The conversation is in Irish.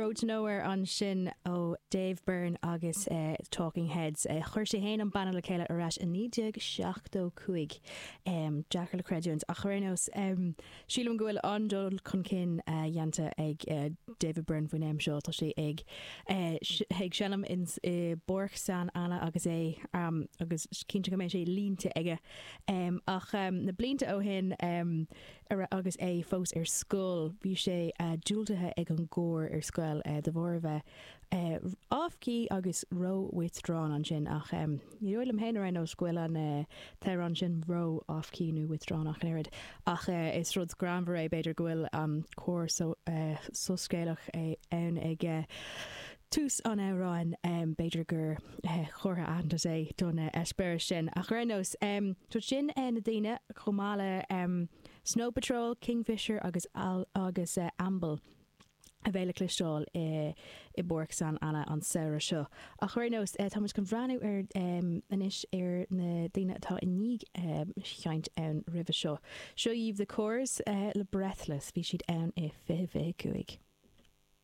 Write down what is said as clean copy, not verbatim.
Road to Nowhere ansin ó Dave Byrne agus Talking Heads. Chuir sé fhéin an banna le chéile ar ais i 1975. Deacair le creidiúint ach ar aon nós, sílim go bhfuil an-dul chun cinn dhéanta ag David Byrne faoin am seo. Tá sé ag ag seinm i bPáirc San Anna agus é agus cinnte go mbeidh sé línte aige. Ach na blianta ó shin, Agus é fós ar scoil, bhí sé diúltaithe ag an gcór ar scoil de bharr a bheith off-key agus ró-withdrawn ansin. Ach ní dóigh liom féin ar aon nós go bhfuil an t-amhrán sin ró-off-key nó withdrawn ach an oiread. Ach is rud greannmhar é, b'fhéidir, go bhfuil an cór soiscéalach ann ag tús an amhráin. B'fhéidir gur chomhartha aitheantais é don eispéireas sin. Ach ar aon nós, so sin na daoine, chomh maith le Snow Patrol, Kingfisher agus agus Amble a bheidh le cloisteáil i bPáirc San Anna an samhradh seo. Ach ar aon nós, tá muid chun breathnú ar anois ar na daoine atá i ndiaidh seinnt ann roimhe seo. Seo dhaoibh The Corrs le Breathless. Bhí siad ann i 2025.